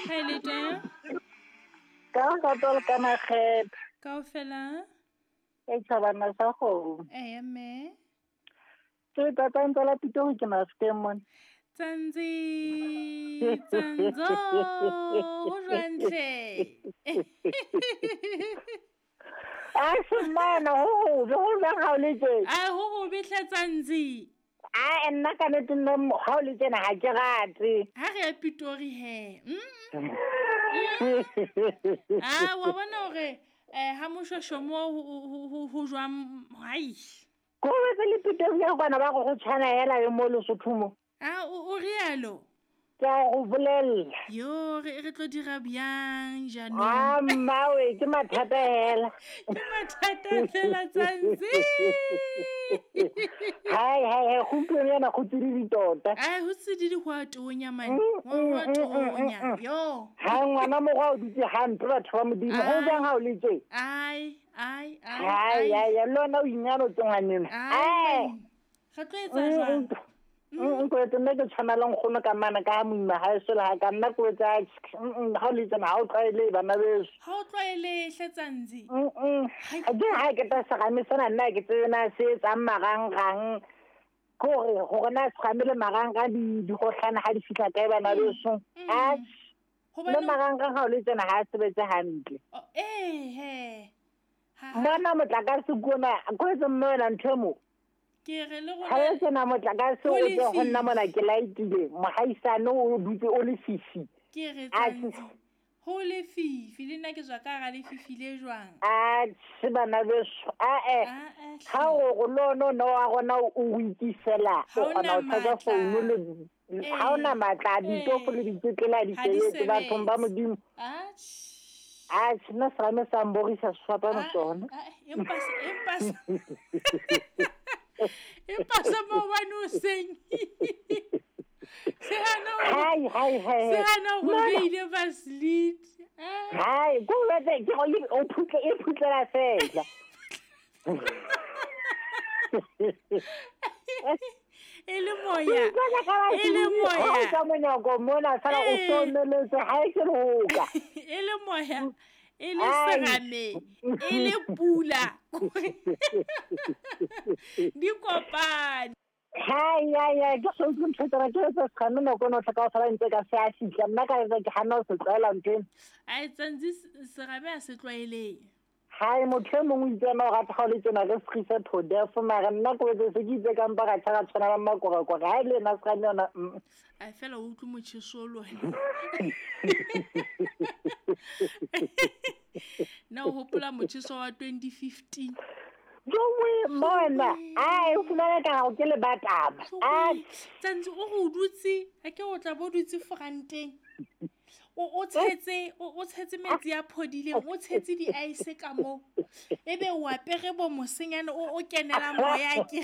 Ha e le teng? Ka rato le ka makgethe. Kaofela? E tjhabana sa kgomo. Eya mme. Ke tata ntse la Pitori ke Mafikeng mona. Tsanzi, tsanzo, ho jwang hle? A semana ho hobe ho jwang ha o le tje? A ho hobe hle Tsanzi. A nna ka nnete nna ha o le tjena ha ke rate. Ha re ya Pitori he. A wa bona hore ha moshweshwe mo ho jwang hai. Ko betse le Pitori ya kwana ba go go tshwana hela le mo Lesotho mo. A o rialo? Ke a go bolella. Yo, re tlo dira bjang jaanong? A mmawe, ke mathata hela. Ke mathata fela Tsantsi. Hai hai hai, gompieno yana go tsididi tota. Ai, go tsididi go a tonya man. Go a tonya. Yo. Ha ngwana mogwa o dutse hampe batho ba Modimo. Go jang ha o le tje? Ai, ai, ai. Hai, ai, le wena o inyalo tse ngwaneno. Ai. Re tlo etsa jwang? Nko etse nna ke tshwana le nkgono ka mana ka ha moima ha eso le ha ka nna ko etsa ha o le tsena ha o tlwaele bana beso. Ha o tlwaele hle Tsantsi. Ha ke ha ke ta serame sena nna ke tsebe na se etsang marangrang. Ke hore hore na serame le marangrang di gohlana ha di fihla kae bana beso. A le marangrang ha o le tsena ha sebetse hantle. Eh he. Bona motlakase kona ko etse mme wena ntho e mo. Ke re le rona. Ha e sena motlakase o tle ho nna mona ke laetile mohaisane o dutse o le fifi. Ke re Tsantsi. Ho le fifi le nna ke tswa ka hara lefifi le jwang? A tjhe bana beso. A ha o go lono no wa rona o ikisela o kgona ho charge phone le ha ona matla ditofo le ditsetlela di sebetse bathong ba Modimo. A A nna serame sa mborisa sefapano tsona. Empa empa empa sa maobane o seng. Se hana Hai hai hai. Se hana ho beile Vaseline. Hai, ko letse ke go o phutle e phutlela fela. E le moya. E le moya. Ha ka monyako mona sala o someletse ha e ke loka. E le moya. E le serame, e le pula. Di kopane. Hai hai hai, ke so utlwe ntho tsena ke tsa serame nako eno tlhoka ho sala ntse ka se a fihla nna ka etsa ke hana ho se tlwaela ntho eno. Ai Tsantsi serame a se tlwaeleng. Hai motho e mongwe o itse ena o rata ha o le tsena re sekgisa to death mara nna ko etse se ke itse ka mpa ka tjha ka tshwana le makorakora ha e le ena serame yona. Ai fela o utlwe motjheso le wena. Na o hopola motjheso wa 2015? Jowe mona, ai o fumana ka hao ke le bataba. A Tsantsi o go dutse, ha ke o tla bo dutse foranteng. O tshetse o tshetse metsi a phodileng, o tshetse di ice ka mo. Ebe o apere bo mosenyane o kenela moya ke.